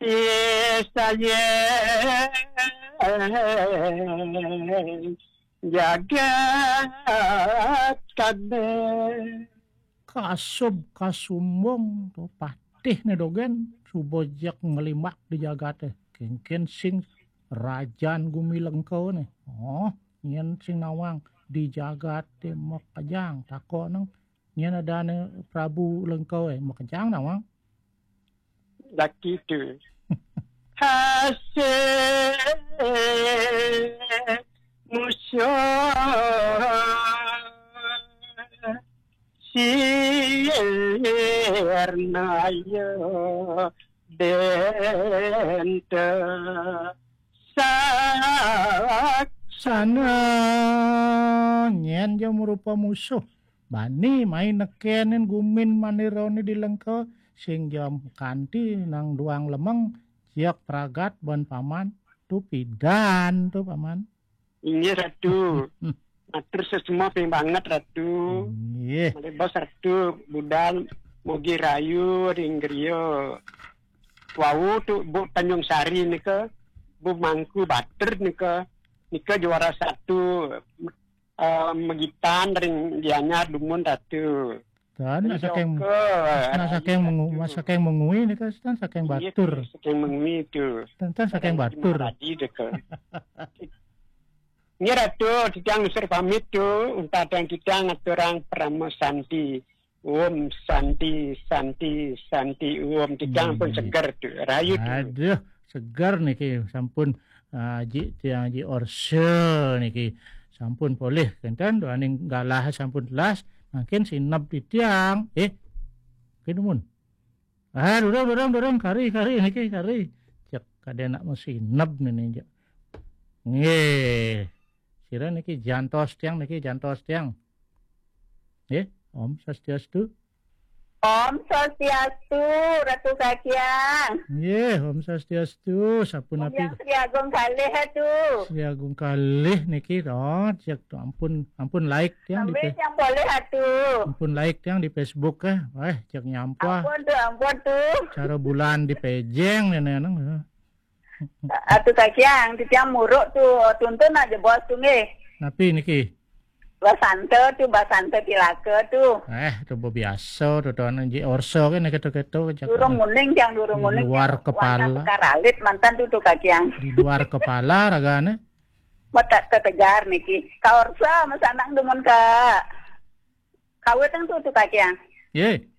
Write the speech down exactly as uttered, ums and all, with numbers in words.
Pisayen jagat kabeh. Kasub kasumbung to patih ne dogen, suba jeg nglimbak di jagate. Kengken sing rajan gumi Lengka ne. Oh, nyen sing nawang di jagate makejang, tako neng. Nyen adane Prabu Lengka, eh, makejang nawang. Laki tu. Hasil musuh sirnaya benta saksana. Nyen ja marupa musuh. Bani mai nekenin gumin manirone di Lengka, sing jam kanti nang duang lemeng, ciak pragat ban paman, tu pidan tu paman. Inggih, Ratu. Matur sesama ping banget, Ratu. Inggih. Malih bos, Ratu, budal mugi rayu ring griya. Wau tu Bu Tanjung Sari nika, Bu Mangku Batur nika, nika juara satu, eh, magitan ring Gianyar dumun, Ratu. Tan, nika saking, oke, nah, rayu, saking mengu-, Ratu. Saking mengui nika, tan, saking, inggih, Batur. Saking mengui tu. Tan, tan, saking Batur. Raji deka. Nggih, Ratu, titiang nunas pamit tu, untat titiang aturang parama santi. Om Santi, Santi, Santi, Om. Titiang pun, hmm, seger tu, rayu tu. Aduh, seger niki sampun, ah, Ji, tiang Ji Orse niki sampun polih kenten, duaning galah sampun telas, mangkin sineb titiang. Eh, mangkin dumun. Ah, durung, durung, durung, kari, kari, niki, kari. Cek, kada nak masineb nini, cek. Nggih. Sira niki jantos tiang, niki jantos tiang. Nggih, Om Swastiastu. Om Swastiastu, Ratu Kakiang. Nggih, Om Swastiastu. Sapunapi? Yang Sri Agung kalih tu. Sri Agung kalih niki, oh, cek tu, ampun, ampun like tiang di, sampai Fe-, yang boleh atu. Ampun like tiang di Facebook, eh. Wah, cek nyampah. Ampun tu, ampun tu. Cara bulan di pejeng nene nang. Atu Kakiang, titiang muruk tu, tuntun aja bos tu nggih. Napi niki? Basanta tu, Basanta Tilaka tu. Eh, tu biasa tu, tu anu Ji Orse ke niki tu, ketu, cek. Durung uning, tiang durung uning. Di luar kepala. Wantah sekaralit mantan tu, tu Kakiang. Di luar kepala ragane. Mata tetegar niki. Ka Orse masanang dumun ka. Kawit nang tu, tu Kakiang. Ye.